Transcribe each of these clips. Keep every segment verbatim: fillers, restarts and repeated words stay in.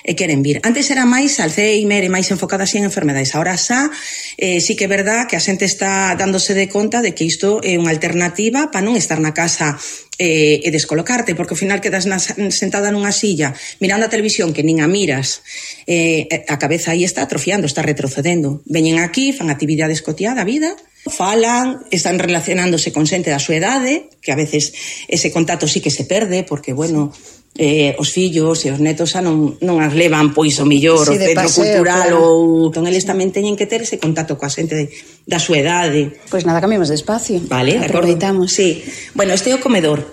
e queren vir. Antes era máis Alzheimer e máis enfocada así en enfermedades. Ahora xa, eh, sí que é verdad que a xente está dándose de conta de que isto é unha alternativa para non estar na casa eh, e descolocarte, porque ao final quedas na, sentada nunha silla mirando a televisión que nin a miras, eh, a cabeza aí está atrofiando, está retrocedendo. Veñen aquí, fan actividades cotiá da vida, falan, están relacionándose con xente da súa idade, que a veces ese contacto sí que se perde, porque, bueno, eh, os fillos e os netos xa non, non as levan, pois, o millor, sí, o centro paseo, cultural, claro. Ou... Entón, eles tamén teñen que ter ese contacto coa xente de, da súa idade. Pois nada, cambiamos de espacio. Vale, de acordo. Aproveitamos. Sí. Bueno, este é o comedor.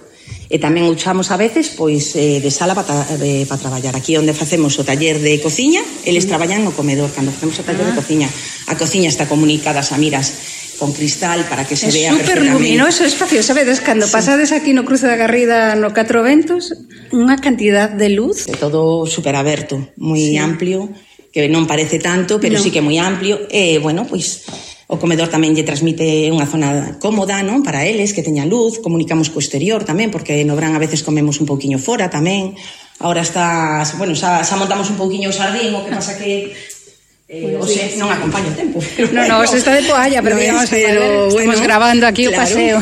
E tamén usamos a veces, pois, eh, de sala para pa traballar. Aquí onde facemos o taller de cociña, eles mm. traballan no comedor, cando facemos o taller ah. de cociña. A cociña está comunicada a miras con cristal para que se é vea perfectamente. É super luminoso o espacio, sabedes, cando sí. pasades aquí no cruce da Garrida no Catro Ventos, unha cantidad de luz. É todo super aberto, moi sí. amplio, que non parece tanto, pero no. sí que é moi amplio. E, bueno, pois, o comedor tamén lle transmite unha zona cómoda, non? Para eles, que teña luz, comunicamos co exterior tamén, porque no verán a veces comemos un pouquiño fora tamén. Ahora está, bueno, xa, xa montamos un pouquiño o xardín, o que pasa que Eh, o sea, non acompaña o tempo. No, no, se está de toalla, pero no digamos, pero, estamos bueno, grabando aquí claro. O paseo.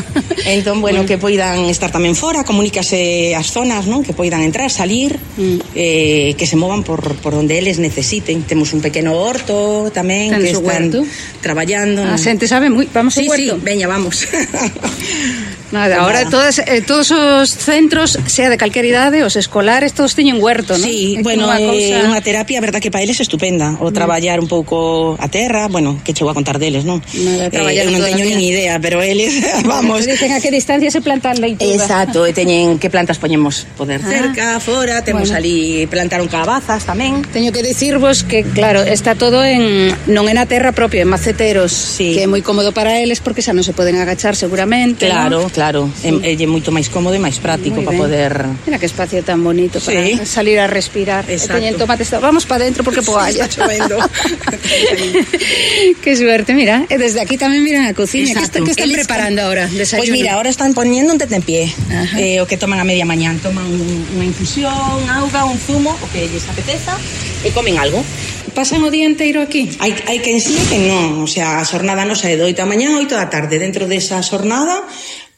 Entón, bueno, que poidan estar tamén fora, comunícase as zonas, non? Que poidan entrar, salir, mm. eh, que se movan por, por onde eles necesiten. Temos un pequeno horto tamén, que están huerto? Traballando. A xente sabe moi, vamos sí, ao huerto. Sí, veña, vamos. Nada, ahora todas, eh, todos os centros, sea de calquera idade, os escolares, todos teñen huerto, non? Sí, é bueno, é cousa... unha terapia, a verdad que para eles é estupenda. O traballar un pouco a terra, bueno, que chego a contar deles, non? Nada, eh, eu non teño nin idea, pero eles, vamos... Dicen a que distancia se plantan leituga. Exacto, e teñen que plantas poñemos poder ah, cerca, fora, temos bueno. ali, plantaron calabazas tamén. Teño que dicirvos que, claro, está todo en, non é na terra propia, en maceteros, sí. que é moi cómodo para eles porque xa non se poden agachar seguramente. Claro, ¿no? claro, sí. é, é moito máis cómodo e máis práctico para poder... Mira que espacio tan bonito para sí. salir a respirar. Exacto. Teñen tomates, vamos para dentro porque poalla. Sí, está chovendo. Qué suerte, mira. E desde aquí tamén miran a cociña. Exacto. Que, está, que están Eles preparando ahora? Pois pues mira, ahora están poniendo un tentempié. Eh, o que toman a media mañán. Toman unha infusión, auga, un zumo, o que lles apeteza, e comen algo. Pasan o día inteiro aquí? Hai, hai quen sí e quen non. O sea, a xornada non sae de oito da mañán a oito da tarde. Dentro desa xornada,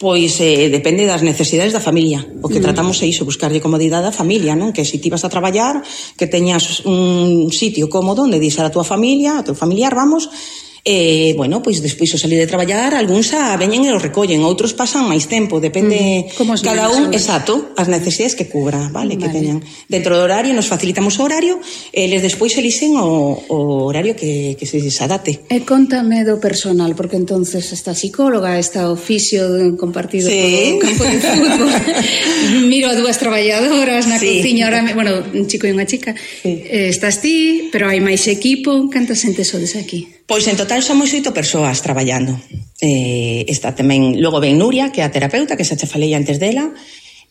pois eh, depende das necesidades da familia. O que mm. tratamos é iso, buscarlle comodidade á familia, non? Que se ti vas a traballar, que teñas un sitio cómodo onde deixar a tua familia, a teu familiar, vamos... E, bueno, pois despois o salir de traballar, algúns xa veñen e o recollen, outros pasan máis tempo, depende mm, cada un, exacto, as necesidades que cubra, vale, vale, que teñan. Dentro do horario, nos facilitamos o horario, e eles despois elixen o, o horario que, que se adapte. E contame do personal, porque entonces esta psicóloga, esta oficio compartido sí. Por o campo de fútbol. Miro a dúas traballadoras na sí. cociña, ahora, bueno, un chico e unha chica. Sí. Eh, estás ti, pero hai máis equipo, cantas xente sodes aquí? Pois en total somos oito persoas traballando. Eh, está tamén, logo ven Nuria, que é a terapeuta, que xa te falei antes dela.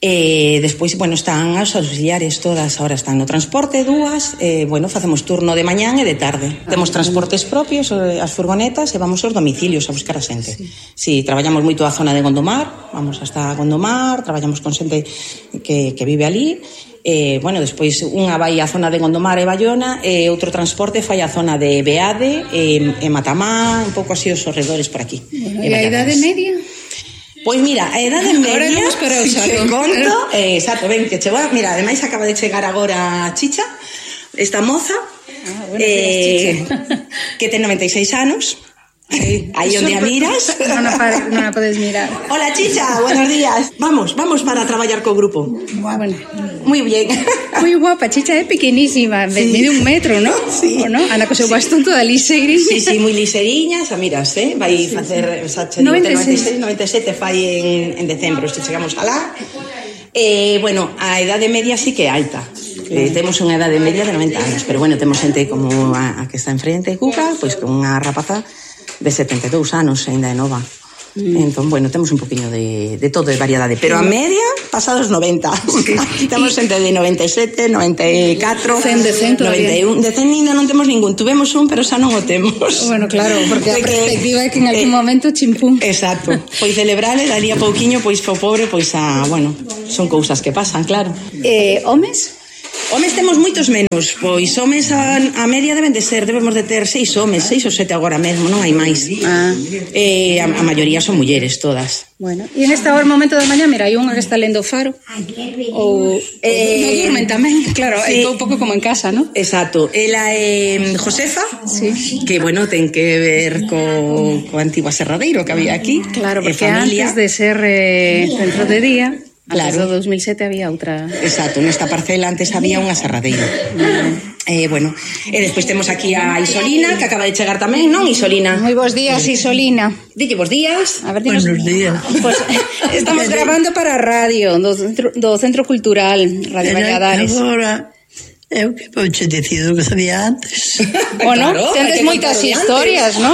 E despois, bueno, están as auxiliares todas, ahora están no transporte, dúas, e, bueno, facemos turno de mañán e de tarde. Ah, temos transportes propios, as furgonetas, e vamos aos domicilios a buscar a xente. Sí. Sí, traballamos moito a zona de Gondomar, vamos hasta Gondomar, traballamos con xente que, que vive ali. Eh, bueno, despois unha vai á zona de Gondomar e Bayona, e outro transporte fai á zona de Beade e, e Matamá, un pouco así os arredores por aquí. Bueno, e a idade media? Pois mira, a idade media, si te conto, eh, exacto, ben, que chegou, mira, ademais acaba de chegar agora Chicha, esta moza, ah, bueno, eh, que ten noventa e seis anos. Sí. Aí onde a miras non a, non a podes mirar. Hola Chicha, buenos días. Vamos, vamos para traballar co grupo. Bueno, moi bien. Moi guapa, Chicha é pequenísima, sí. Mide un metro, ¿no? Sí. ¿O no? Anda co seu sí. bastón toda liseriña. Sí, sí, moi liseriña, xa miras, eh? Vai sí, facer sí. noventa e seis, noventa e sete fai en, en decembro, se chegamos alá. Eh, bueno, a idade media sí que é alta. Eh, temos unha idade media de noventa anos, pero bueno, temos xente como a, a que está enfrente, Cuca, pois con unha rapaza de setenta e dous anos, ainda é nova. Mm. Entón, bueno, temos un poquinho de, de todo, de variedade, pero a media pasados noventa. Sí. Temos xente de noventa e sete, noventa e catro, cen de cen, noventa e un. De cen ainda non temos ningún, tuvemos un, pero xa non o temos. Bueno, claro, porque a perspectiva é que en algún eh, momento chimpún. Exacto. Pois celebrale, daría pouquiño, pois fo pobre, pois a, bueno, son cousas que pasan, claro. Eh, homes? Homes temos moitos menos, pois homes a, a media deben de ser, debemos de ter seis homes, seis ou sete agora mesmo, non hai máis. Ah. Eh, a, a maioría son mulleres todas. Bueno, e en esta hora momento da mañá, mira, hai unha que está lendo o Faro. Ou eh, non durmen tamén, claro, sí. É todo un pouco como en casa, ¿no? Exacto. Ela é eh, Josefa, sí. Que, bueno, ten que ver co, co antigo aserradeiro que había aquí. Claro, porque antes de ser eh, centro de día... Claro. Antes do dos mil sete había outra... Exacto, nesta parcela antes había un aserradeiro. Mm. Eh, bueno, e despois temos aquí a Isolina, que acaba de chegar tamén, non, Isolina? Moi bons días, Isolina. Dille bons días. A ver, dinos... Buenos días. Pues, estamos grabando para a radio do Centro, do Centro Cultural Radio Valladares. Agora... Eu que pouche dicido que sabía antes. Bueno, claro, tendes moitas historias, non?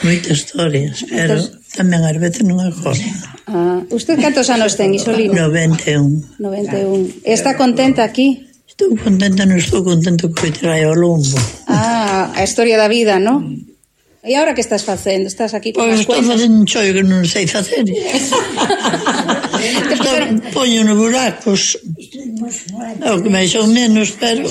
Moitas historias, pero Entonces... tamén ás veces non acordo. Ah, usted cantos anos ten, Isolina? noventa e un. noventa e un. Está contenta aquí? Estou contenta, non estou contenta que trae ao lombo. Ah, a historia da vida, non? E agora que estás facendo? Estás aquí con as as cuentas? Pois estou facendo un chollo que non sei facer. Poño nos buracos. É o que máis ou menos, pero...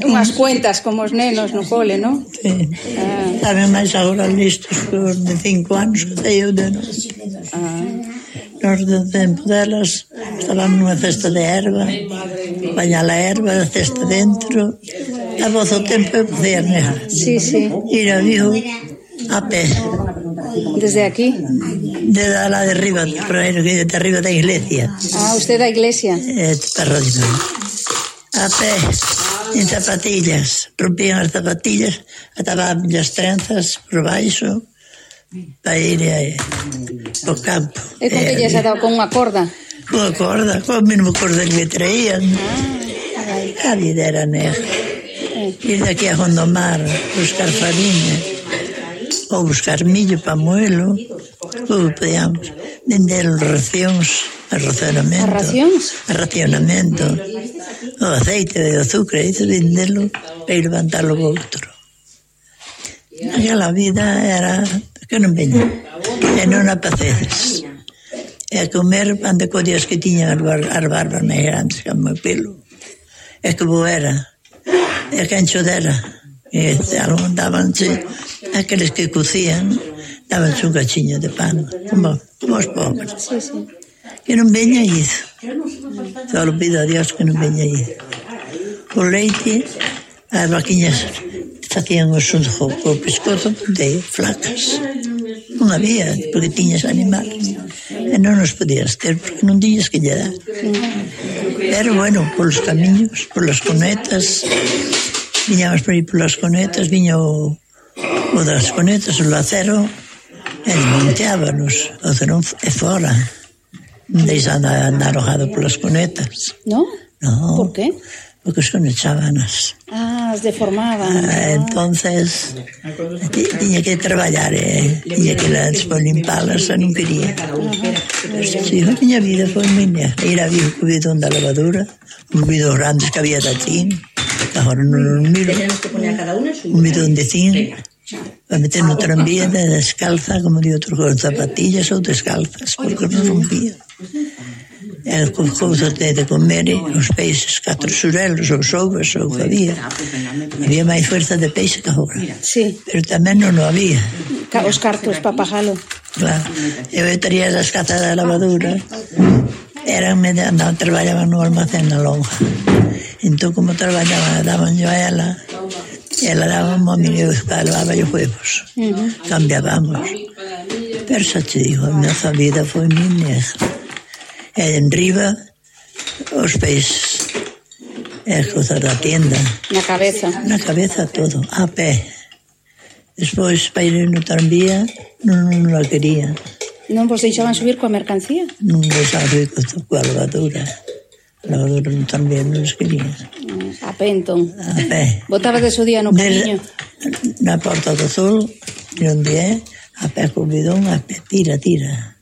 Unhas cuentas como os nenos no cole, non? Sí. Ah. Saben máis agora listos que os de cinco anos que sei eu de nós. Ah. Nos do tempo delas estaban nunha cesta de erva, bañar a erva, a cesta dentro, a voz o tempo eu podía negar. Sí, sí. Ir a vivo a pé. Desde aquí? Desde lá de arriba, de arriba da iglesia. Ah, usted da iglesia? É, perro de mano. A pé, en zapatillas, rompían as zapatillas, ataban as trenzas por baixo, para ir eh, ao campo. E con que lles ha dado, con unha corda? Con unha corda, con o mesmo corda que me traían. Ah, a vida era negra. Eh. Ir de aquí a Gondomar, buscar farinha, ou buscar millo para moelo, ou podíamos vender os racións, a racionamento. As racións? A racionamento. O aceite, o azúcar, isso vendelo para ir levantarlo o outro. Aquela vida era que non veña, e non a pacedes. E a comer pan de codias que tiñan as, bar, as barbas máis grandes que o meu pelo. E que bo era, e que ancho dera. E algo dabanse, aqueles que cocían, dabanse un cachiño de pan, como, como os pobres. Sí, sí. Que non veña iso. Só lo pido a Dios que non veña iso. O leite, as vaquiñas facían o sunjo co pescozo de flacas. Non había, porque tiñas animales. E non nos podías ter, porque non tiñas que lle dar. Pero, bueno, polos camiños, polas conetas, viñamos por aí polas conetas, viña o, o das conetas, o lacero, e desmonteábanos. O cerón é fora. Non deixa andar, andar arrojado polas conetas. Non? No. Por qué? Porque os conechábanas. Ah, as deformaban. Ah, entonces tiña que traballar, eh? Tiña que las por limpalas, non quería. Uh-huh. Si, a miña vida foi miña. Ir a vir co bidón da lavadura, os bidón grandes que había de tin, que agora non os miro, un bidón de tin, para meter no tranvía de descalza, como de outros con zapatillas ou descalzas, porque non rompía. E con cousas de, de comer, os peixes, catro xurelos, ou sovas, ou que había. Había máis fuerza de peixe que agora. Sí. Pero tamén non o había. Os cartos para pajalo. Claro. Eu traía as cazas da lavadura, eran, andaban, traballaban no almacén na lonja. Entón, como traballaban, daban yo a ela, e ela daba a mí, eu levaba os huevos. Uh-huh. Cambiábamos. Pero xa te digo, a nosa vida foi moi negra. E en riba, os peixes, e as cousas da tienda. Na cabeza. Na cabeza todo, a pé. Despois, para ir no tranvía, non, non la quería. Non vos deixaban subir coa mercancía? Non deixaban subir coa lavadura. A lavadura no tranvía non les quería. A pé, entón. A pé. Botaba de su día no camiño? Na Porta do Sol, onde é, a pé co bidón, a pé, tira, tira.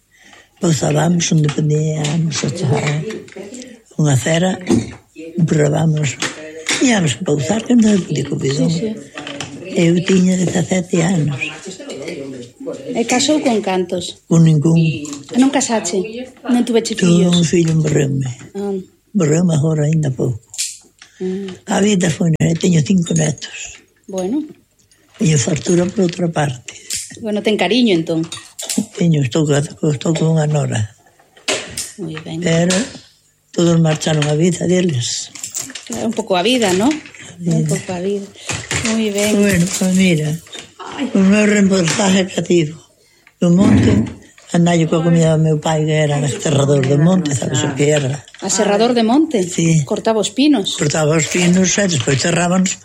Pousábamos onde podíamos achar unha cera, probábamos, íamos a pousar que non podía co bidón. Sí, sí. Eu tiña dezasete anos. E casou con cantos? Con ningún. Non casache? Non tuveche fillos? Tuve un fillo, morreume. Ah. Morreume agora ainda pouco. Mm. A vida foi, teño cinco netos. Bueno. Teño fartura por outra parte. Bueno, ten cariño, entón. Teño, estou, estou con unha nora. Moi ben. Pero todos marcharon a vida deles. Un pouco a vida, ¿no? Un pouco a vida. Moi ben. Bueno, pues mira, o meu reportaje cativo do monte, andallo coa comida do meu pai, que era aserrador de monte, sabes o que era? Aserrador de monte? Sí. Cortaba os pinos? Cortaba os pinos e despois cerrábanos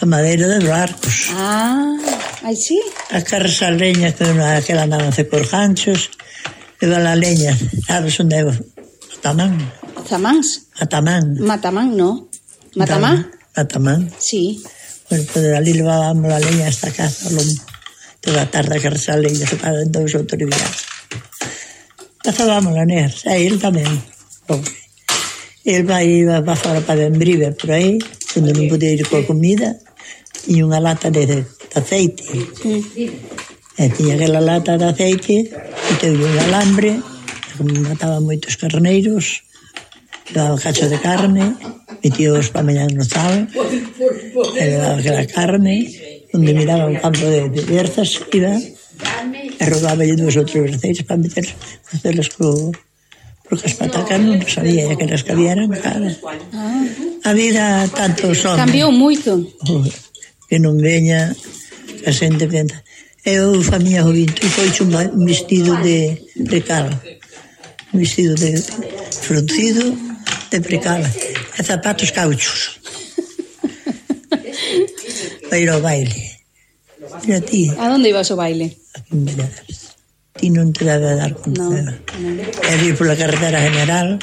a madeira de barcos. Ah, aí sí. A carresa a leña, que aquela andaban a por ganchos, leva a leña, sabes onde é? Matamán. Zamáns? Matamán. Matamán, no. Matamán? Matamán. Sí. Bueno, pues de ali levábamos la leña a esta casa, lo, toda a tarde a carresa a leña, se pagan dous ou tres días. Cazábamos la ner, e él tamén, pobre. El vai iba para fora para Bembrive, por aí, onde non podía ir coa comida, tiña unha lata de, de aceite. Mm. E tiña aquela lata de aceite, e teve un alambre, como mataba moitos carneiros, daba cacho de carne, metíos para mañana no sal, e daba aquela carne, onde miraba un campo de, de berzas, iba, e robaba lle dúas ou tres berzeiras para meter, facerlas co... porque as patacas non sabía, e aquelas que había eran caras. Ah. A vida tanto son... Cambiou moito. Oh, que non veña, que a xente pensa. Eu, familia Jovinto, e foi un vestido de precal, un vestido de fruncido, de precal, e zapatos cauchos. Para ir ao baile. Mira ti. A onde ibas ao baile? Aquí en Valladares. Ti non te debe dar conta. No, é ir pola carretera general,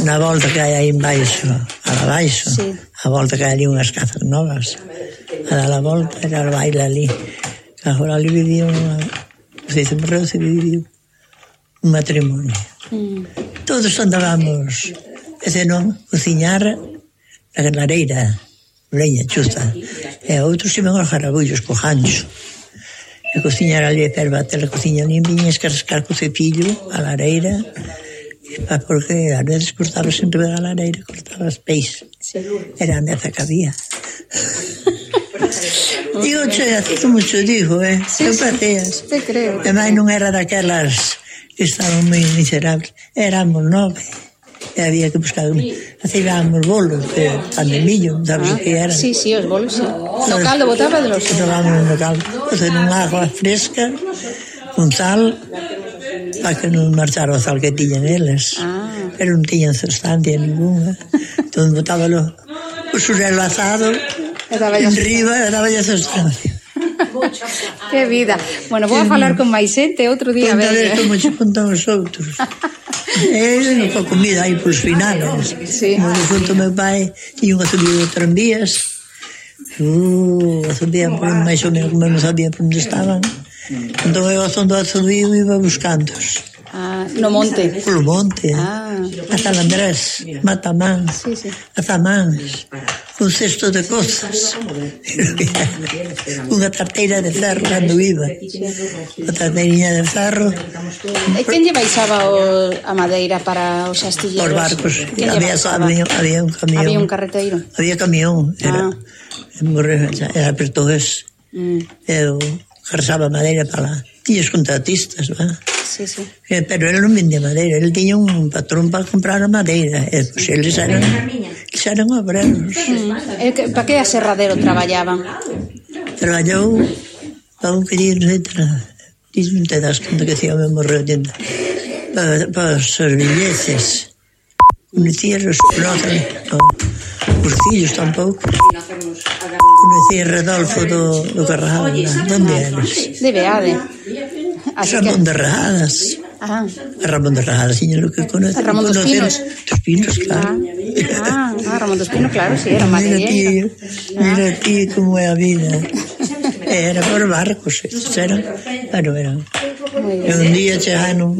na volta que hai aí en baixo, a la baixo, sí. A volta que hai ali unhas casas novas, a dar a volta era o baile ali. Agora ali vivía unha, se dice, morreu, se viviu un matrimonio. Mm. Todos andábamos, e se non, cociñar na lareira, leña, chusta, e outros iban aos jarabullos co gancho. E cociñar ali, e bater a cociña ali, viñas que rascar co cepillo a lareira, porque a veces cortabas sempre da lareira, cortabas peixe. Era a meza que había. Digo, che, hace mucho digo, eh? Sí, eu pateas. Te creo. E máis non era daquelas que estaban moi miserables. Éramos nove. E había que buscar... Hacíamos bolos, de pan de millo, sabes o ah, que era? Sí, sí, os bolos, sí. No caldo botaba de los... Botábamos no caldo. Facer un agua fresca, con sal, para que non marchara o sal que tiñan eles. Ah. Pero non tiñan sustancia ninguna. Entón botábalo o xurelo asado, en riba, e daba ya sustancia. Que vida. Bueno, vou a falar con máis xente outro día. Contade como se contan os outros. É a comida aí polos finales. Sí. Como de junto meu pai tiña unha subida de tranvías. Uh, a subida por máis ou menos como non sabía por onde estaban. Entón eu a zondo a subido iba buscándoos. Ah, no monte. Polo monte. Ah. A San Andrés, Matamán, sí, sí. A Zamáns, un cesto de cosas. Unha tarteira de ferro cando iba. Unha tarteirinha de ferro. E quen lle baixaba o, a madeira para os astilleros? Os barcos. Había, había, había un camión. Había un carreteiro. Había camión. Era, ah. era portugués. Mm. Eu carregaba madeira para lá. Tiños contratistas, va? Sí, sí. Eh, pero ele non vendía madeira, ele tiña un patrón para comprar a madeira, e pois eles eran, eles eran obreros. Mm. Para que aserradero traballaban? Traballou para un querido, etcétera. Ti non te das conta que decía o mesmo reuniendo. Para, para os servillezes. Conocía os próceres, os fillos tampouco. Conocía Rodolfo do, do Carrajal, onde eres? De Beade. Ramón de Rajadas. Ah. A Ramón de Rajadas, señor, lo que conoce. A Ramón dos Pinos. Dos Pinos, claro. Ah, ah, Ramón dos Pinos, claro, sí, era madrileño. Mira ah. ti como é a vida. Era por barcos, eran, bueno, eran. E un día chegaron,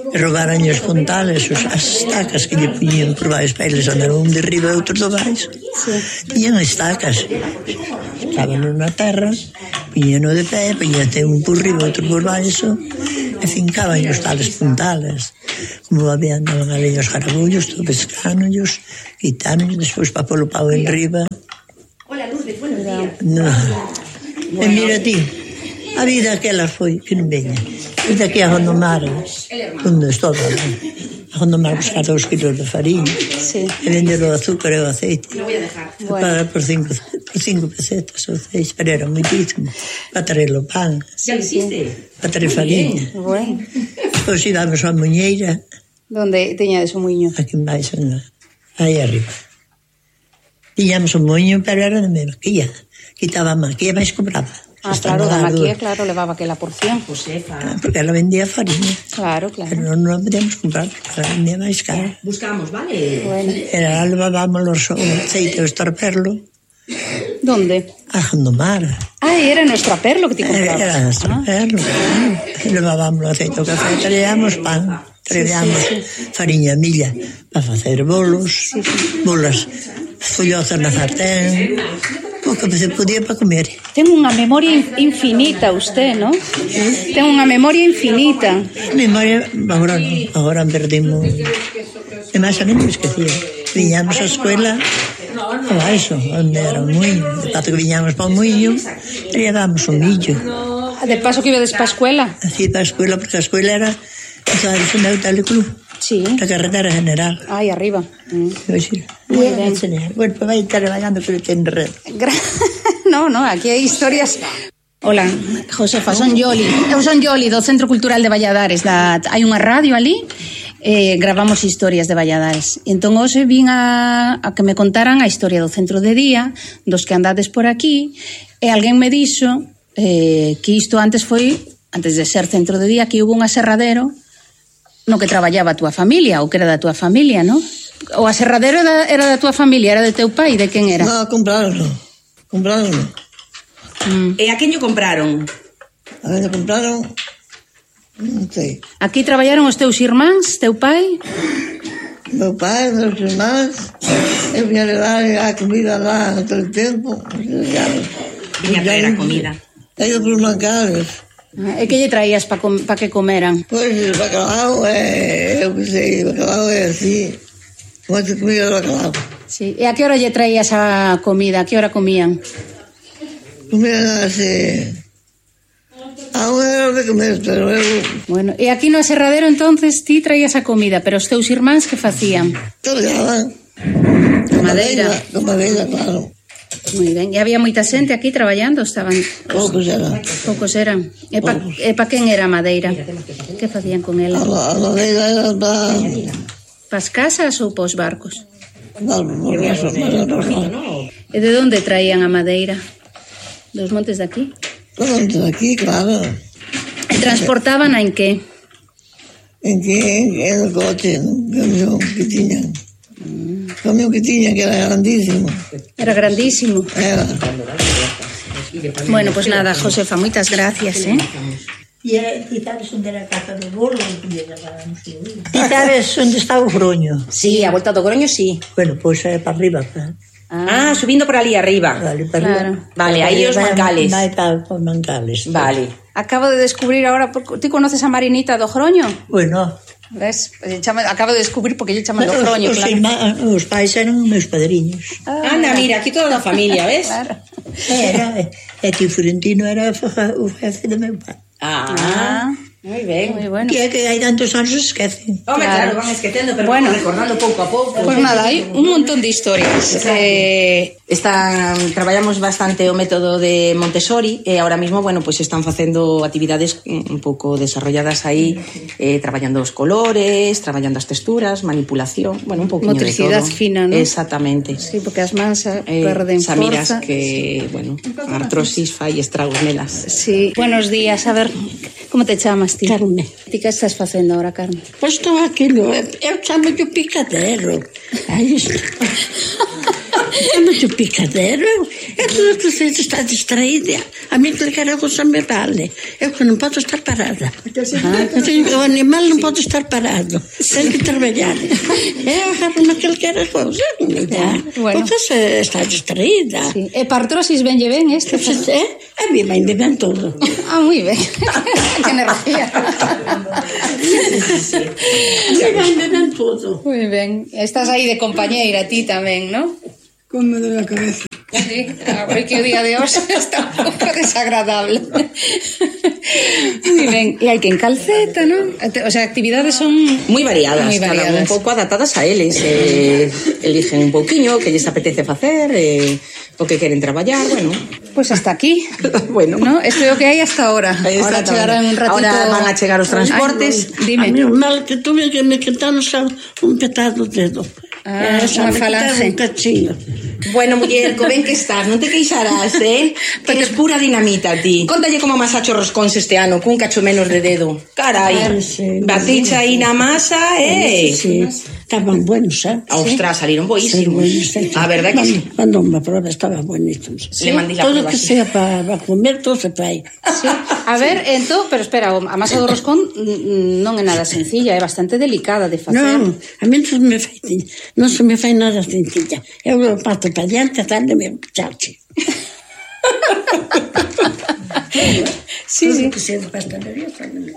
roubaran os puntales, as estacas que lle puñían por baixo, para eles andaron un de riba e outro do baixo. Sí. Tiñan estacas, estaban na terra, puñían de pé, puñían un por riba, outro por baixo, e fincaban os tales puntales. como habían andaban ali os garabullos, todo pescánollos, quitáronlos, despois para polo pau en riba. Hola, Lourdes, buenos días. No. E mira ti, a vida aquela foi, que non veña. E daqui a Gondomar, onde estou, a Gondomar buscar dos kilos de farina, sí. E vender o azúcar e o aceite. Lo voy a dejar. Bueno. Para por cinco, por cinco pesetas o seis, pero era moitísimo. Para traer o pan. ¿Ya lo hiciste? Para traer farina. Bueno. Pois íbamos a Muñeira. Donde teñades o muiño? Aquí en baixo, aí arriba. Tiñamos un moño, pero era de maquilla. Quitaba a maquilla, máis compraba. Ah, claro, da maquilla, claro, levaba aquela porción. Josefa. Porque ela vendía farina. Claro, claro. Pero non, non podíamos comprar, porque ela vendía máis cara. Buscamos, vale. Bueno. Era, levábamos o aceite, o estorperlo. ¿Dónde? A Gondomar. Ah, era nuestro perlo que te comprabas. Era a estorperlo, claro. E levábamos o aceite, o café, traíamos pan, traíamos sí, sí, sí. Fariña, milla, para facer bolos, sí, sí. Bolas, follozas na sartén. O que se podía para comer. Ten unha memoria infinita usted, ¿no? ¿Sí? Ten unha memoria infinita. Memoria, agora non, agora perdimos. E máis a non me esquecía. Viñamos a escuela a baixo, onde era un muiño. De paso que viñamos para un muiño, llevábamos un millo. De paso que ibades para a escuela? Así para a escuela, porque a escuela era ¿sabes onde é o teleclub? Sí. La carretera general. Aí arriba. Mm. Sí. Muy bien. Bueno, pues vai estar traballando que ten red. No, no, aquí hai historias. Hola, Josefa, son Yoli. Eu son Yoli do Centro Cultural de Valladares. Da... Hai unha radio ali, eh, gravamos historias de Valladares. Entón, hoxe vin a, a que me contaran a historia do centro de día, dos que andades por aquí, e alguén me dixo eh, que isto antes foi, antes de ser centro de día, que hubo un aserradero no que traballaba a túa familia, ou que era da túa familia, non? O aserradero era, era da túa familia, era de teu pai, de quen era? No, compraronlo. Compraronlo. Mm. E a quen yo compraron? A ver, compraron... Non sei. Aquí traballaron os teus irmáns, teu pai? Meu pai, meus irmáns, eu vinha levar a comida lá todo o tempo. Vinha traer a comida. E eu por mancales. E que lle traías para com, pa que comeran? Pois o bacalao é, eu que sei, o bacalao é así, moita comida de bacalao. Sí. E a que hora lle traías a comida? A que hora comían? Comían así, a unha hora de comer, pero eu... Bueno, e aquí no aserradero entonces ti traías a comida, pero os teus irmáns que facían? Colgaban. Madeira. Con madeira, claro. Moi ben, e había moita xente aquí traballando, estaban... Poucos eran. Poucos eran. E pa, e pa quen era a madeira? Que facían con ela? A, a madeira era para... Pas casas ou pos barcos? Para os barcos. E de onde traían a madeira? Dos montes de aquí? Dos montes de aquí, claro. E transportaban en que? En que? En el coche, no camión que tiñan. Mm. Camión que tiña, que era grandísimo. Era grandísimo. Era. Bueno, pues nada, Josefa, moitas gracias, eh? E sabes onde era a casa do bolo? E sabes onde está o Groño? Sí, a volta do Groño, sí. Bueno, pois é para arriba. Para... Ah, subindo por ali arriba. Vale, para claro. arriba. Vale, aí os mancales. Vai para os mancales. Vale. Acabo de descubrir ahora, ti conoces a Marinita do Groño? Bueno. Ves? Chama, acabo de descubrir porque lle chaman do Groño, os, claro. Irmá, os pais eran meus padriños. Ah, anda, mira, aquí toda a familia, ves? Claro. Era, e tío Florentino era o jefe do meu pai. Ah, ah, moi ben. Moi bueno. Que é que hai tantos anos se esquecen. Home, claro, claro, van esquecendo, pero bueno, recordando pouco a pouco. Pues nada, hai un montón de historias. Eh... Están, traballamos bastante o método de Montessori e ahora mismo, bueno, pues están facendo actividades un pouco desarrolladas aí, eh, traballando os colores, traballando as texturas, manipulación, bueno, un pouquinho de todo. Motricidade fina, ¿no? Exactamente. Sí, porque as mans eh, perden Samiras forza. Que, bueno, a artrosis fai estragos nelas. Sí. Buenos días, a ver, como te chamas ti? Carmen. Ti que estás facendo ahora, Carmen? Pois estou aquilo, eu chamo de picadero. Aí está. Chama-te o picadero. É tudo que você está distraída. A mim clicar a coisa me vale. Eu que não posso estar parada. Ah, o animal não pode estar parado. Tem que trabalhar. É agarrar naquele que era coisa. Bueno. Porque você está distraída. Sí. E para artrosis venlle ben este? É? A mí me ben todo. Ah, moi ben. Que energía. A mí me ben todo. Moi ben. Estás aí de compañeira ti tamén, non? Con me doy la cabeza. Sí, a ver que o día de hoxe está un pouco desagradable. Moi ben, e hai que en calceta, non? O sea, actividades son moi variadas, moi variadas. Cada un pouco adaptadas a eles, eh, eligen un pouquiño que lles apetece facer, eh, o que queren traballar, bueno. Pois pues hasta aquí. Bueno, ¿no? Isto é o que hai hasta ahora. Ahora chegarán un ratito. Ahora van a chegar os transportes. Ay, dime. A mí o mal que tuve que me quitaron xa un petado dedo. Ah, unha falange. Un cachinho. Bueno, muller, co ben que estás, non te queixarás, eh? Que eres pura dinamita, ti. Contalle como amasacho roscóns este ano, cun cacho menos de dedo. Carai, Ay, sí, baticha aí na masa, eh? Sí, estaban buenos, eh? Ostras, salieron boísimos. Sí, A verdad que sí. Cuando me probé estaban buenísimos. Le mandé la Todo prueba, que sí. sea para comer, todo se fai. Sí. A ver, entón, pero espera, a masa do roscón mm, non é nada sencilla, é bastante delicada de facer. Non, a mí non se me fai, non se me fai nada sencilla. Eu lo parto para diante, darle meu chachi. Sí, sí. Que sea de pastelería,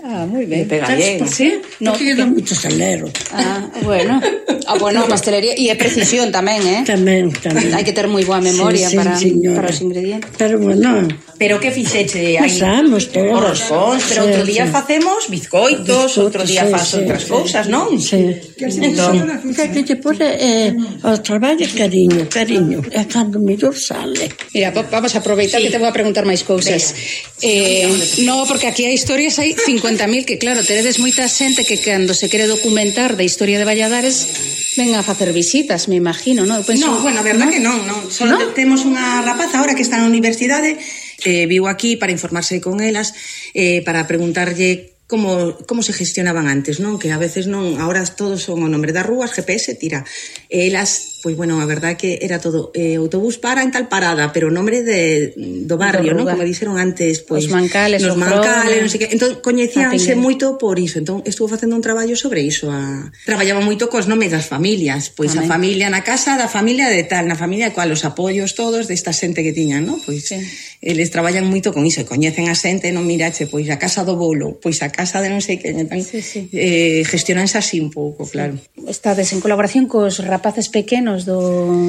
Ah, moi ben. Pega ¿Sabes bien. por qué? No, Porque yo que- dou mucho salero. Ah, bueno. Ah, bueno, pastelería e é precisión tamén, eh? Tamén, tamén. Hai que ter moi boa memoria Sí, sí, para señora. para os ingredientes. Pero bueno, Pero que fixeche aí? pasamos todos. Os roscóns, pero Sí, outro día sí. facemos bizcoitos, Bizcoitos, outro día sí, faz sí, outras sí. cousas, non? Sí. Entón, Que que te pone eh, o traballo é cariño, cariño. É cando mellor sale. Mira, va- vamos a aproveitar Sí. que te vou a preguntar máis cousas. Eh, no, porque aquí hai historias, hai cincuenta mil, que claro, teredes moita xente que cando se quere documentar da historia de Valladares ven a facer visitas, me imagino, non? Eu penso, no, bueno, a verdad que non, non. Solo ¿No? te- temos unha rapaza ahora que está na universidade, eh, viu aquí para informarse con elas, eh, para preguntarlle como, como se gestionaban antes, non? Que a veces non, ahora todos son o nombre das rúas, G P S, tira. E elas, pois bueno, a verdade que era todo eh, autobús para en tal parada, pero o nombre de, do barrio, non? Do lugar. Como dixeron antes, pois Os Mancales, nos o Mancales, Frone, non sei que. Entón, coñecíanse a Pinguel. moito por iso. Entón, estuvo facendo un traballo sobre iso. A... Traballaba moito cos nomes das familias. Pois a Tamén. familia na casa da familia de tal, na familia cual os apoios todos desta xente que tiñan, non? Pois Sí. eles traballan moito con iso, e coñecen a xente, non mirache, pois a casa do bolo, pois a casa de non sei que, entón, Sí, sí. eh, gestionanse así un pouco, claro. estades en colaboración cos rapaces pequenos do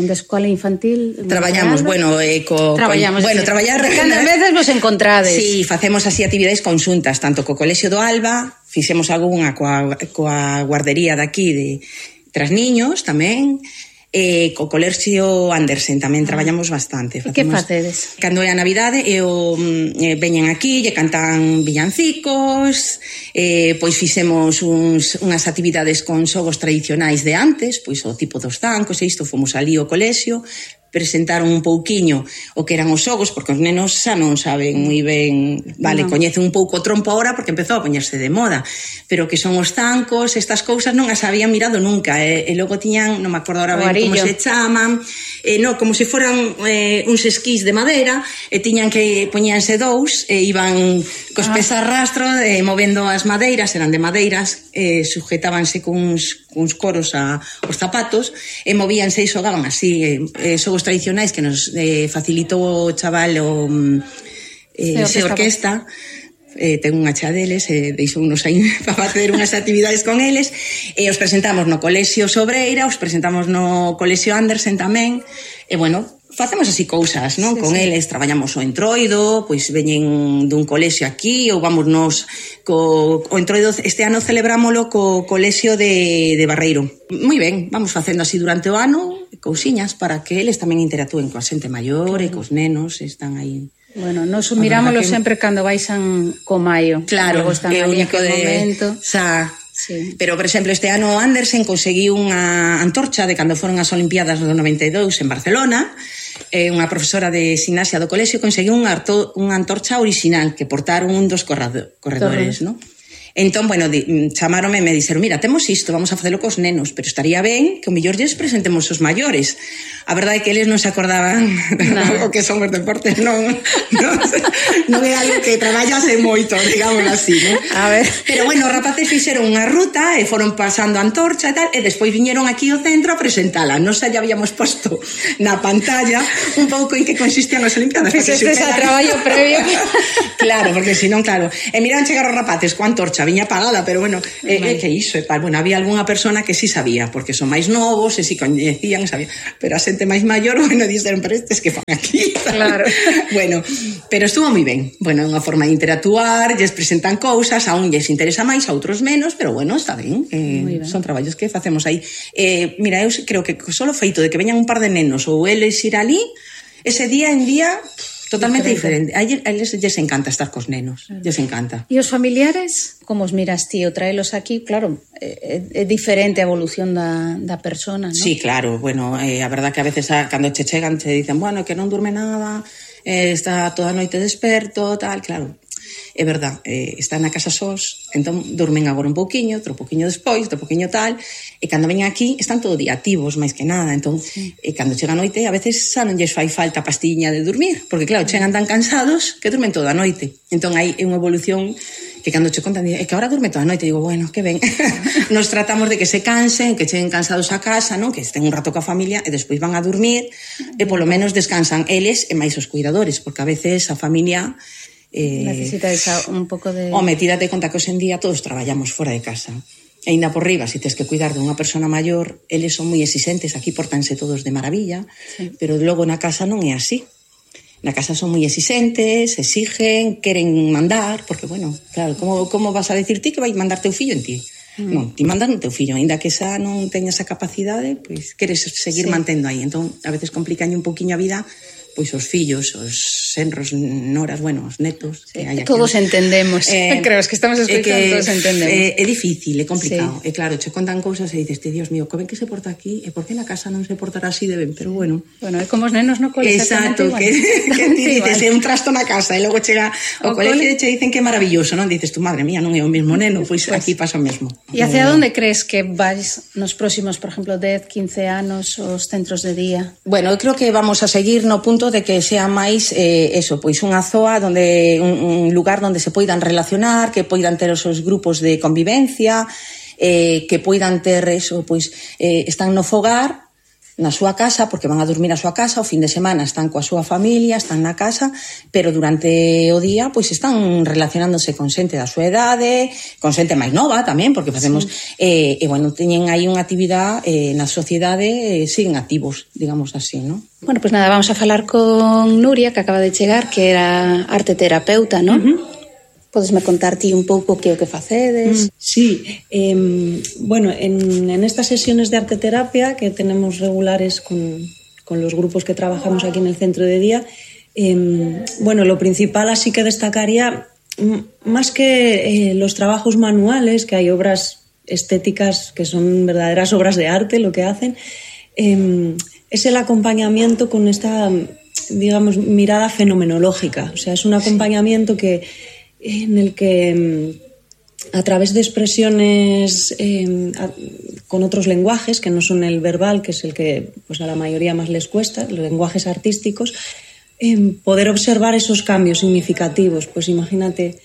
da escola infantil. Traballamos, bueno, eh, co, Traballamos, co, bueno, decir, traballar cantas veces vos encontrades. Sí, facemos así actividades conxuntas, tanto co Colexio do Alba, fixemos algunha coa, coa guardería daqui de tras niños tamén, e co Colexio Andersen tamén traballamos bastante. E que facedes? Cando é a Navidade, e o, eh, veñen aquí, lle cantan villancicos, eh, pois fixemos uns, unhas actividades con xogos tradicionais de antes, pois o tipo dos zancos, e isto fomos ali ao colexio, presentaron un pouquiño o que eran os xogos, porque os nenos xa non saben moi ben, vale, No. coñecen un pouco o trompo ahora porque empezou a poñerse de moda, pero que son os zancos, estas cousas non as habían mirado nunca, e, e logo tiñan, non me acordo ahora O ben como arillo. se chaman, e no, como se foran eh, uns esquís de madeira, e tiñan que poñíanse dous, e iban cos Ah. pés a rastro, e movendo as madeiras, eran de madeiras, e sujetábanse cuns, cuns coros a, os zapatos, e movíanse e xogaban así, e, e xogos tradicionais que nos eh, facilitou o chaval o eh, Se se orquesta, eh, ten unha cha deles, e eh, deixounos aí para facer unhas actividades con eles, e os presentamos no Colexio Sobreira, os presentamos no Colexio Andersen tamén, e bueno, facemos así cousas, non? Sí, Con sí. eles traballamos o entroido, pois veñen dun colexio aquí, ou vamos nos co o entroido, este ano celebrámolo co colexio de, de Barreiro. Moi ben, vamos facendo así durante o ano, cousiñas para que eles tamén interactúen coa xente maior e cos nenos, están aí. Bueno, nos mirámoslo que- sempre cando baixan co maio. Claro, Logo están é o ali único aquel de... momento. Xa, Sí. pero, por exemplo, este ano Andersen conseguiu unha antorcha de cando foron as Olimpiadas do noventa e dous en Barcelona, e unha profesora de gimnasia do colexio conseguiu unha, arto, unha antorcha original que portaron un dos corrado, corredores, Torre. non? Entón, bueno, di, chamaronme e me dixeron, mira, temos isto, vamos a facelo cos nenos, pero estaría ben que o mellor lles presentemos os maiores. A verdade é que eles non se acordaban no. o que son os deportes, non, non, non é algo que traballase moito, digamos así, non? A ver. Pero bueno, os rapaces fixeron unha ruta e foron pasando a antorcha e tal, e despois viñeron aquí ao centro a presentala. Nos xa habíamos posto na pantalla un pouco en que consistían as Olimpiadas. Fixeste ese traballo previo. Claro, porque senón, claro, e miraban chegar os rapaces coa antorcha, viña apagada, pero bueno, é eh, eh, que iso, e, bueno, había algunha persona que sí sabía, porque son máis novos, e si coñecían, sabía, pero a xente máis maior, bueno, dixeron, pero estes que fan aquí, claro. Bueno, pero estuvo moi ben, bueno, unha forma de interactuar, lles presentan cousas, a un lles interesa máis, a outros menos, pero bueno, está ben, eh, ben. Son traballos que facemos aí. Eh, mira, eu creo que só o feito de que veñan un par de nenos ou eles ir ali, ese día en día totalmente diferente. A eles lles encanta estar cos nenos, claro. Lles encanta. E os familiares, como os miras ti, o traelos aquí, claro, é, é diferente a evolución da, da persona, ¿no? Sí, claro, bueno, eh, a verdad que a veces a, cando che chegan te dicen, bueno, que non durme nada, eh, está toda a noite desperto, tal, claro. É verdad, eh, está na casa sós, entón dormen agora un pouquiño, outro pouquiño despois, outro pouquiño tal, e cando veñen aquí están todo día activos, máis que nada, entón, sí. E cando chega a noite, a veces xa non lles fai falta a pastiña de dormir, porque claro, chegan tan cansados que dormen toda a noite, entón hai unha evolución que cando che contan, é que ahora dorme toda a noite, digo, bueno, que ben, nos tratamos de que se cansen, que cheguen cansados a casa, non? Que estén un rato coa familia e despois van a dormir, e polo menos descansan eles e máis os cuidadores, porque a veces a familia Eh, necesitáis un pouco de... Home, tírate conta que hoxe en día todos traballamos fora de casa. E ainda por riba, se tes que cuidar dunha persona maior, eles son moi exigentes, aquí portanse todos de maravilla, sí. Pero logo na casa non é así. Na casa son moi exigentes, exigen, queren mandar, porque, bueno, claro, como, como vas a decir ti que vai mandar teu fillo en ti? Mm. Non, ti mandas no teu fillo, ainda que xa non teña esa capacidade, pois queres seguir sí. Mantendo aí. Entón, a veces complicañe un poquinho a vida pois os fillos, os senros, noras, bueno, os netos sí, que hai aquí. Todos entendemos, eh, creo, es que estamos escuchando, que, todos entendemos. É, é difícil, é complicado, sí. E claro, che contan cousas e dices, Dios mío, que ben que se porta aquí, e por que na casa non se portará así de ben, pero bueno. Bueno, é como os nenos no cole. Exacto, que, que ti dices, é un trasto na casa, e logo chega o, o colegio e che dicen que é maravilloso, non? Dices, tu madre mía, non é o mesmo neno, pois pues, aquí pasa o mesmo. E hacia onde crees que vais nos próximos, por exemplo, dez, quince anos, os centros de día? Bueno, eu creo que vamos a seguir no punto de que sea máis eh, eso, pois unha zoa donde un, un lugar onde se poidan relacionar, que poidan ter os seus grupos de convivencia, eh, que poidan ter eso, pois eh, están no fogar, na súa casa, porque van a dormir a súa casa, o fin de semana están coa súa familia, están na casa, pero durante o día pois están relacionándose con xente da súa idade, con xente máis nova tamén, porque facemos sí. eh, e bueno, teñen aí unha actividade eh, na sociedade, eh, siguen activos, digamos así, non? Bueno, pois pues nada, vamos a falar con Nuria, que acaba de chegar, que era arte terapeuta, non? Uh-huh. Podesme contar ti un pouco que o que facedes? Mm, sí, eh, bueno, en, en estas sesiones de arte terapia que tenemos regulares con, con los grupos que trabajamos aquí en el centro de día, eh, bueno, lo principal así que destacaría, más que eh, los trabajos manuales, que hay obras estéticas que son verdaderas obras de arte lo que hacen, eh, es el acompañamiento con esta, digamos, mirada fenomenológica. O sea, es un acompañamiento que en el que a través de expresiones eh, a, con otros lenguajes que no son el verbal, que es el que pues a la mayoría más les cuesta, los lenguajes artísticos, eh, poder observar esos cambios significativos. Pues imagínate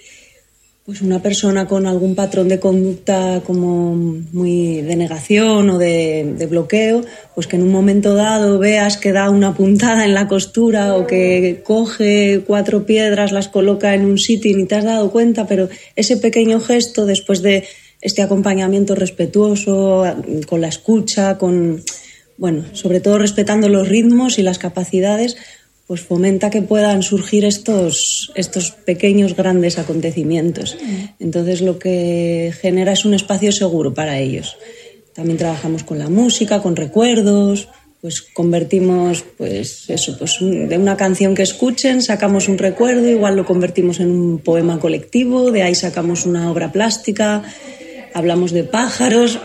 pues una persona con algún patrón de conducta como muy de negación o de, de bloqueo, pues que en un momento dado veas que da una puntada en la costura o que coge cuatro piedras, las coloca en un sitio y ni te has dado cuenta, pero ese pequeño gesto, después de este acompañamiento respetuoso, con la escucha, con, bueno, sobre todo respetando los ritmos y las capacidades, pues fomenta que puedan surgir estos, estos pequeños grandes acontecimientos. Entonces lo que genera es un espacio seguro para ellos. También trabajamos con la música, con recuerdos, pues convertimos pues eso, pues de una canción que escuchen sacamos un recuerdo, igual lo convertimos en un poema colectivo, de ahí sacamos una obra plástica. Hablamos de pájaros,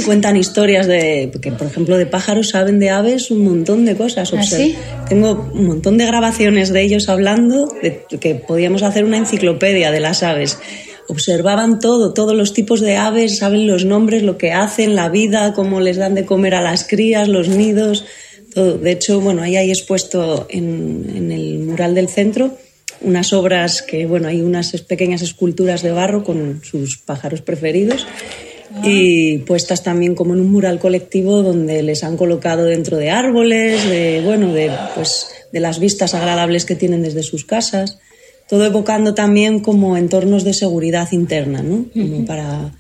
cuentan historias de... Porque, por ejemplo, de pájaros saben de aves un montón de cosas. ¿Ah, sí? Tengo un montón de grabaciones de ellos hablando, de que podíamos hacer una enciclopedia de las aves. observaban todo, todos los tipos de aves, saben los nombres, lo que hacen, la vida, cómo les dan de comer a las crías, los nidos, todo. De hecho, bueno, ahí hay expuesto en, en el mural del centro unas obras que, bueno, hay unas pequeñas esculturas de barro con sus pájaros preferidos y puestas también como en un mural colectivo donde les han colocado dentro de árboles, de, bueno, de, pues, de las vistas agradables que tienen desde sus casas, todo evocando también como entornos de seguridad interna, ¿no? Como para,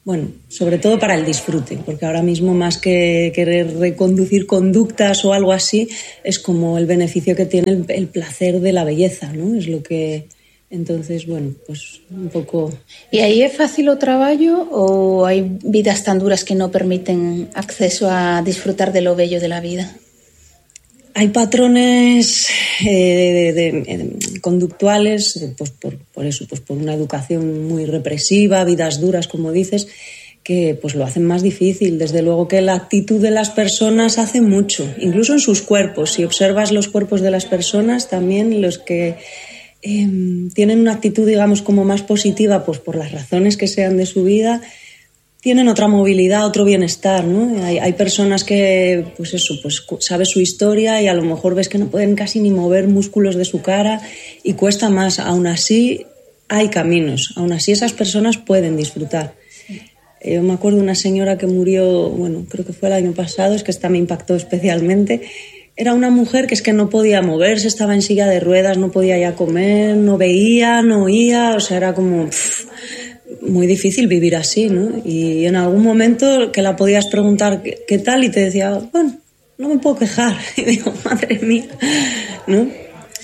bueno, sobre todo para el disfrute, porque ahora mismo más que querer reconducir conductas o algo así, es como el beneficio que tiene el, el placer de la belleza, ¿no? Es lo que... Entonces, bueno, pues un pouco... E aí é fácil o traballo ou hai vidas tan duras que non permiten acceso a disfrutar de lo bello de la vida? Hay patrones eh, de, de, de, conductuales, pues por, por eso, pues por una educación muy represiva, vidas duras, como dices, que pues lo hacen más difícil. Desde luego que la actitud de las personas hace mucho, incluso en sus cuerpos. Si observas los cuerpos de las personas, también los que eh, tienen una actitud, digamos, como más positiva, pues por las razones que sean de su vida, tienen otra movilidad, otro bienestar, ¿no? Hay, hay personas que, pues eso, pues sabes su historia y a lo mejor ves que no pueden casi ni mover músculos de su cara y cuesta más. Aún así hay caminos, aún así esas personas pueden disfrutar. Yo me acuerdo de una señora que murió, bueno, creo que fue el año pasado, es que esta me impactó especialmente. Era una mujer que es que no podía moverse, estaba en silla de ruedas, no podía ya comer, no veía, no oía, o sea, era como... Pff, muy difícil vivir así, ¿no? Y en algún momento que la podías preguntar qué, qué tal y te decía, bueno, no me puedo quejar. Y digo, madre mía, ¿no?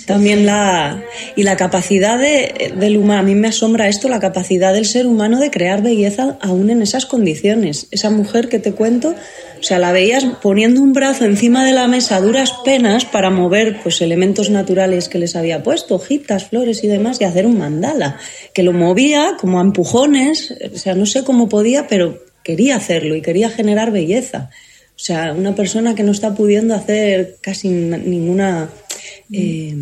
También la... Y la capacidad de, del humano, a mí me asombra esto, la capacidad del ser humano de crear belleza aún en esas condiciones. Esa mujer que te cuento, o sea, la veías poniendo un brazo encima de la mesa a duras penas para mover pues elementos naturales que les había puesto, hojitas, flores y demás, y hacer un mandala, que lo movía como a empujones, o sea, no sé cómo podía, pero quería hacerlo y quería generar belleza. O sea, una persona que no está pudiendo hacer casi ninguna... Eh,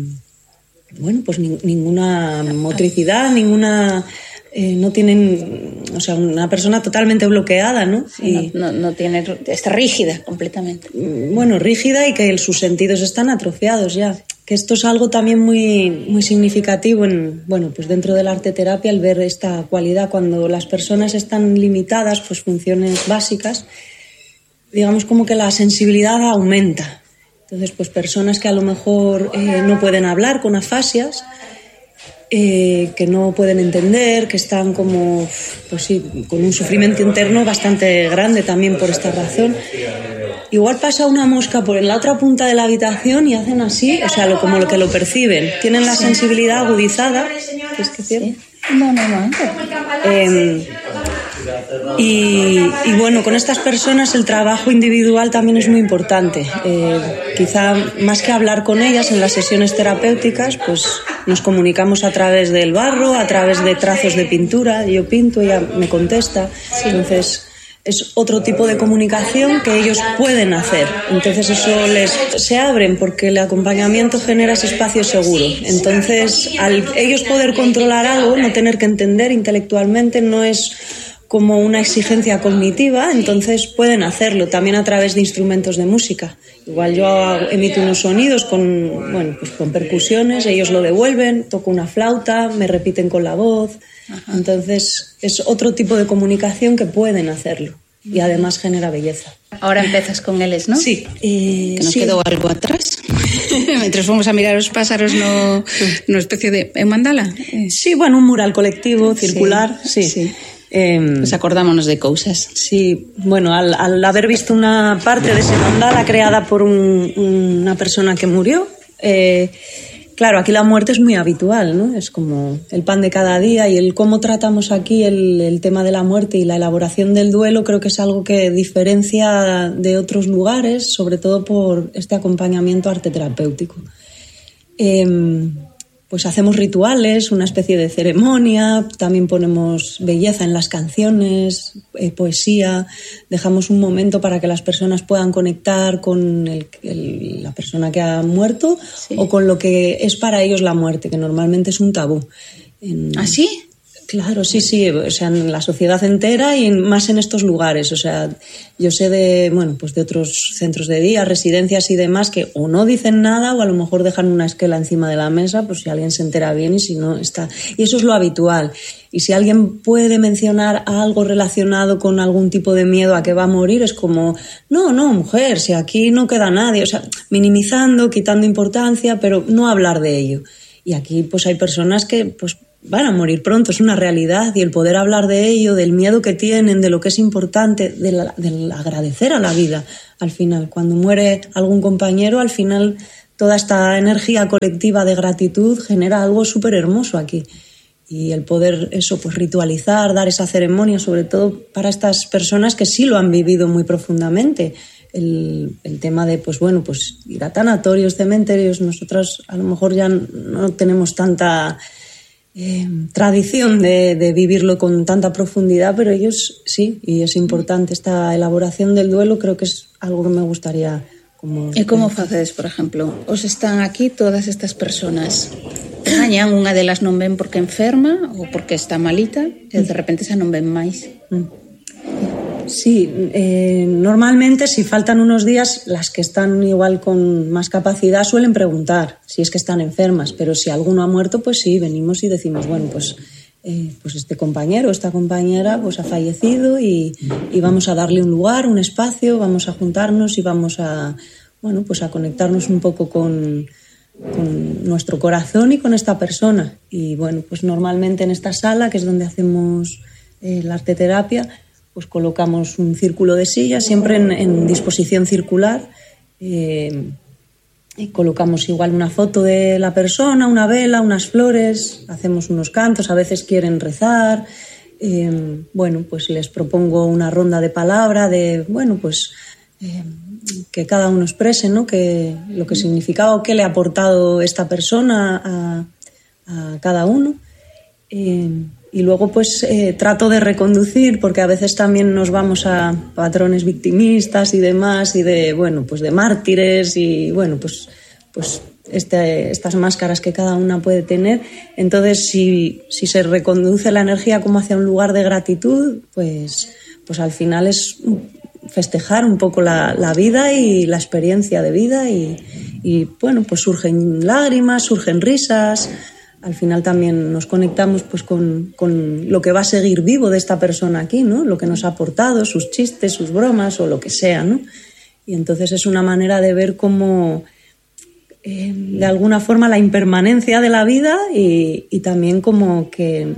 bueno, pues ni, ninguna motricidad, ninguna... Eh, no tienen, o sea, una persona totalmente bloqueada, ¿no? Sí, y, no, no, no tiene, está rígida completamente. Bueno, rígida y que sus sentidos están atrofiados ya. Que esto es algo también muy, muy significativo en, bueno, pues dentro de la arteterapia, el ver esta cualidad cuando las personas están limitadas, pues funciones básicas, digamos como que la sensibilidad aumenta. Entonces, pues personas que a lo mejor eh, no pueden hablar con afasias, Eh, que no pueden entender, que están como, pues sí, con un sufrimiento interno bastante grande también por esta razón. Igual pasa una mosca por la otra punta de la habitación y hacen así, o sea, lo, como lo que lo perciben. Tienen la sensibilidad agudizada. ¿Qué es que cierto? Sí. No, no, no. Eh, y, y bueno, con estas personas el trabajo individual también es muy importante. Eh, quizá más que hablar con ellas en las sesiones terapéuticas, pues nos comunicamos a través del barro, a través de trazos de pintura. Yo pinto, ella me contesta. Entonces es otro tipo de comunicación que ellos pueden hacer. Entonces eso les se abren porque el acompañamiento genera ese espacio seguro. Entonces al ellos poder controlar algo, no tener que entender intelectualmente, no es como una exigencia cognitiva, entonces pueden hacerlo también a través de instrumentos de música. Igual yo emito unos sonidos con, bueno, pues con percusiones, ellos lo devuelven, toco una flauta, me repiten con la voz. Ajá. Entonces es otro tipo de comunicación que pueden hacerlo y además genera belleza. Ahora empezas con eles, ¿no? Sí. Eh, que nos sí. quedou algo atrás. Mientras fomos a mirar os pásaros no, no especie de en mandala. Sí, bueno, un mural colectivo, circular, sí. sí. sí. Eh, pues acordámonos de cousas. Sí, bueno, al, al haber visto una parte de ese mandala creada por un, una persona que murió, eh, claro, aquí la muerte es muy habitual, ¿no? Es como el pan de cada día y el cómo tratamos aquí el, el tema de la muerte y la elaboración del duelo creo que es algo que diferencia de otros lugares, sobre todo por este acompañamiento arteterapéutico. Eh, Pues hacemos rituales, una especie de ceremonia, también ponemos belleza en las canciones, eh, poesía, dejamos un momento para que las personas puedan conectar con el, el, la persona que ha muerto sí. o con lo que es para ellos la muerte, que normalmente es un tabú. En... ¿Ah, sí? Claro, sí, sí, o sea, en la sociedad entera y más en estos lugares. O sea, yo sé de, bueno, pues de otros centros de día, residencias y demás que o no dicen nada o a lo mejor dejan una esquela encima de la mesa, pues si alguien se entera bien y si no está. Y eso es lo habitual. Y si alguien puede mencionar algo relacionado con algún tipo de miedo a que va a morir, es como, no, no, mujer, si aquí no queda nadie. O sea, minimizando, quitando importancia, pero no hablar de ello. Y aquí pues hay personas que pues van a morir pronto, es una realidad, y el poder hablar de ello, del miedo que tienen, de lo que es importante, de la, del agradecer a la vida, al final. Cuando muere algún compañero, al final toda esta energía colectiva de gratitud genera algo súper hermoso aquí. Y el poder eso, pues ritualizar, dar esa ceremonia, sobre todo para estas personas que sí lo han vivido muy profundamente. El, el tema de, pues bueno, pues ir a tanatorios, cementerios, nosotros a lo mejor ya no tenemos tanta eh, tradición de, de vivirlo con tanta profundidad, pero ellos sí, y es importante esta elaboración del duelo, creo que es algo que me gustaría como... E como facedes, por exemplo, os están aquí todas estas personas, gañan, unha delas non ven porque enferma ou porque está malita, e de repente xa non ven máis. Mm. Sí, eh, normalmente si faltan unos días, las que están igual con más capacidad suelen preguntar si es que están enfermas, pero si alguno ha muerto, pues sí, venimos y decimos, bueno, pues, eh, pues este compañero, esta compañera pues ha fallecido y, y vamos a darle un lugar, un espacio, vamos a juntarnos y vamos a, bueno, pues a conectarnos un poco con, con nuestro corazón y con esta persona. Y bueno, pues normalmente en esta sala, que es donde hacemos eh, la arteterapia, pues colocamos un círculo de sillas, siempre en, en disposición circular. Eh, y colocamos igual una foto de la persona, una vela, unas flores, hacemos unos cantos, a veces quieren rezar. Eh, bueno, pues les propongo una ronda de palabra, de, bueno, pues eh, que cada uno exprese, ¿no?, que, lo que significaba o qué le ha aportado esta persona a, a cada uno. Eh, Y luego pues eh, trato de reconducir, porque a veces también nos vamos a patrones victimistas y demás, y de, bueno, pues de mártires y, bueno, pues, pues este, estas máscaras que cada una puede tener. Entonces, si, si se reconduce la energía como hacia un lugar de gratitud, pues, pues al final es festejar un poco la, la vida y la experiencia de vida y, y, bueno, pues surgen lágrimas, surgen risas. Al final también nos conectamos pues con, con lo que va a seguir vivo de esta persona aquí, ¿no? Lo que nos ha aportado, sus chistes, sus bromas o lo que sea, ¿no? Y entonces es una manera de ver cómo, eh, de alguna forma, la impermanencia de la vida y, y también como que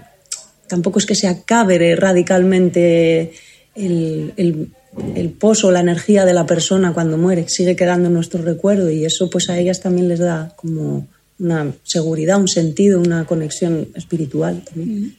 tampoco es que se acabe radicalmente el, el, el pozo, la energía de la persona cuando muere, sigue quedando en nuestro recuerdo y eso pues a ellas también les da como una seguridad, un sentido, una conexión espiritual también.